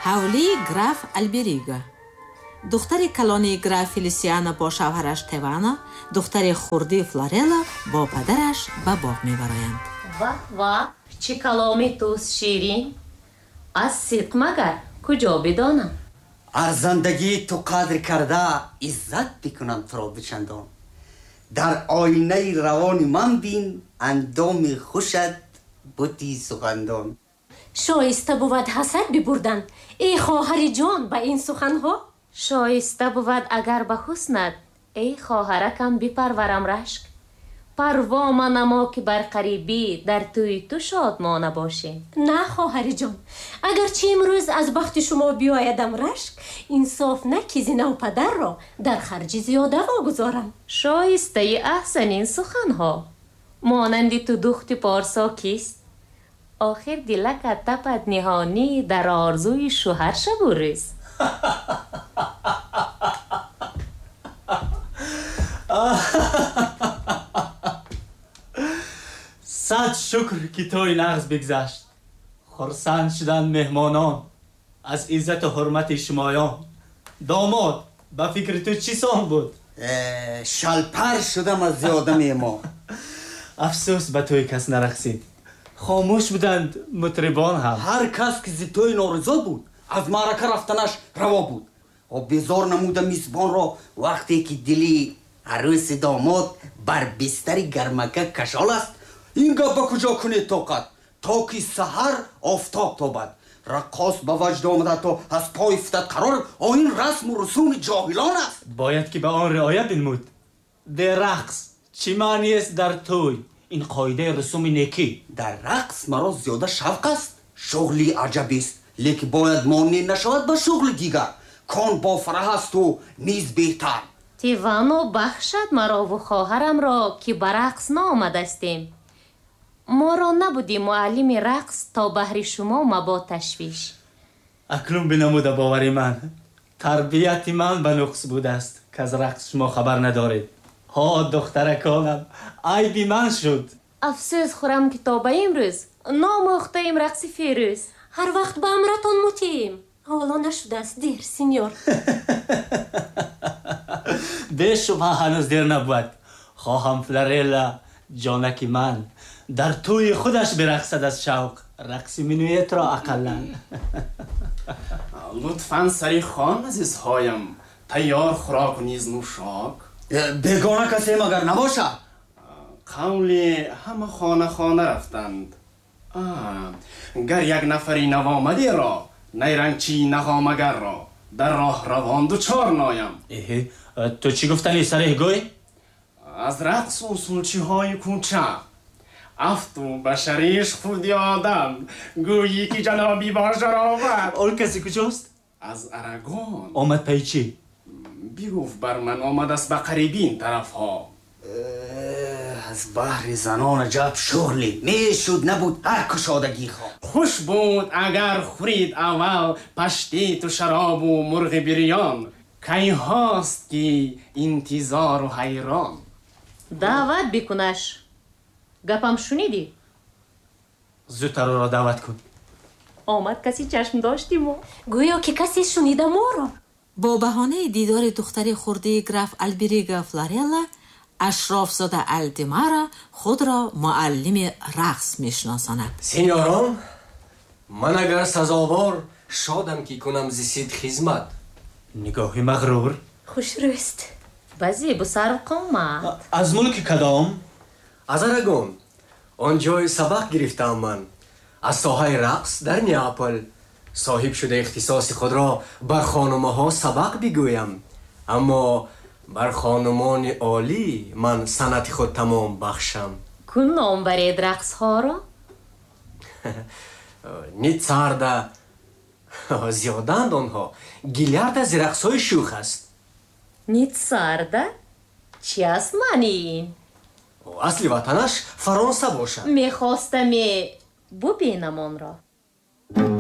Ҳавлии граф Алберига. Духтари калонии граф Фелисиано бо шавҳараш Тевано, духтари хурдӣ Флорелла бо падараш ба боғ мебароянд. Ваҳ, ваҳ, чӣ каломи туст ширин! Аз сидқ магар куҷо бидонам? Арзандагии ту қадр карда, иззат бикунам туро бичандон. Дар оинаи равони ман бин, андоми хушат бути сухандон. Шоиста бувад ҳасад бибурдан, эй хоҳари ҷон, ба ин суханҳо? Шоиста бувад агар ба ҳуснат, эй хоҳаракам, бипарварам рашк. Парво манамо, ки бар қарибӣ дар тӯи ту шодмона бошем. На, хоҳари ҷон, агарчи имрӯз аз бахти шумо биёядам рашк, инсоф на ки зи навпадарро дар харҷи зиёда вогузорам. Шоистаи аҳсан ин суханҳо. Монанди ту духти порсо кист? Охир дилакат тапад ниҳонӣ дар орзуи шӯҳар шабу рӯз. Сад шукр, ки тӯй нағз бигзашт. Хурсанд шуданд меҳмонон аз иззату ҳурмати шумоён. Домод, ба фикри ту чӣ сон буд? Шалпар шудам аз зиёда меҳмон. Афсӯс, ба тӯй кас нарақсид. Хомӯш буданд мутрибон ҳам. Ҳар кас ки зи тӯй норизо буд, аз маърака рафтанаш раво буд. Безор намуда мизбонро, вақте ки дили арӯси домод бар бистари гармака кашол аст, ин гап ба куҷо кунед тоқат, то ки саҳар офтоб тобад. Раққос ба ваҷд омада, то аз пой футад қарор. Оин расму русуми ҷоҳилон аст. Бояд ки ба он риоят бинмуд. Де рақс чӣ маъниест дар тӯй? Ин қоидаи русуми некӣ. Дар рақс маро зиёда шавқ аст, шуғли аҷабист, лекин бояд монеъ нашавад ба шуғли дигар, кон бо фараҳ асту низ беҳтар. Тивано бахшад марову хоҳарамро, ки ба рақс наомадастем. Моро набуди муаллими рақс, то баҳри шумо мабод ташвиш. Акнун бинамуда бовари ман, тарбияти ман ба нуқс будааст, ки аз рақс шумо хабар надоред. Ҳо, духтараконам, айби ман шуд. Афсӯс хӯрам, ки то ба имрӯз номӯхтаем рақси фирӯз. Ҳар вақт ба амратон мутием. Ҳоло нашудааст дер, синьор. Бешубҳа, ҳанӯз дер набуд. Хоҳам Флорелла, ҷонаки ман, дар тӯи худаш бирақсад аз шавқ рақси минуетро ақаллан. Лутфан сари хон, азизҳоям, тайёр хӯрок низ нӯшок. Бегона касе магар набошад? Қавли ҳама хона хона рафтанд. Гар як нафари навомадеро, найрангчии нағомагарро дар роҳ равон дучор ноям. Эҳе, ту чӣ гуфтани, сареҳ гӯй? Аз рақсу усулчиҳои кӯча афту ба шариш худи одам, гӯйӣ ки ҷаноби бошароват. Он касе куҷост? Аз Арагон. Омад пайи чӣ? Бигуфт бар ман омадааст ба қариби ин тарафҳо. Аз баҳри занон аҷаб шуғле мешуд, набуд ҳар кушодагӣ хо. Хуш буд агар хӯрид аввал паштиту шаробу мурғи бирён. Кайҳост ки интизору ҳайрон. Даъват бикунаш. Гапам шунидӣ? Зудтар ӯро даъват кун. Омад каси чашм дошти мо. Гӯё ки касе шунида моро. Бо баҳонаи дидори духтари хурдии граф Алберига Флорелла, ашрофзода Алдимара худро муаллими рақс мешиносонад. Синьорон, ман агар сазовор шодам, ки кунам зи сид хизмат. Нигоҳи мағрур. Хушрӯст. Ба зебу сарв қомат. Аз мулки кадом? Аз Арагон. Он ҷой сабақ гирифтаам ман аз соҳаи рақс дар Неапол. Соҳиб шуда ихтисоси худро бар хонумаҳо сабақ бигӯям, аммо бар хонумони олӣ ман санъати худ тамом бахшам. Кун ном баред рақсҳоро. Ницарда, зиёданд онҳо. Гилярда зи рақсҳои шӯх аст. Ницарда чи аст маънии ин? Асли ватанаш Фаронса бошад. Мехостаме бубинам онро.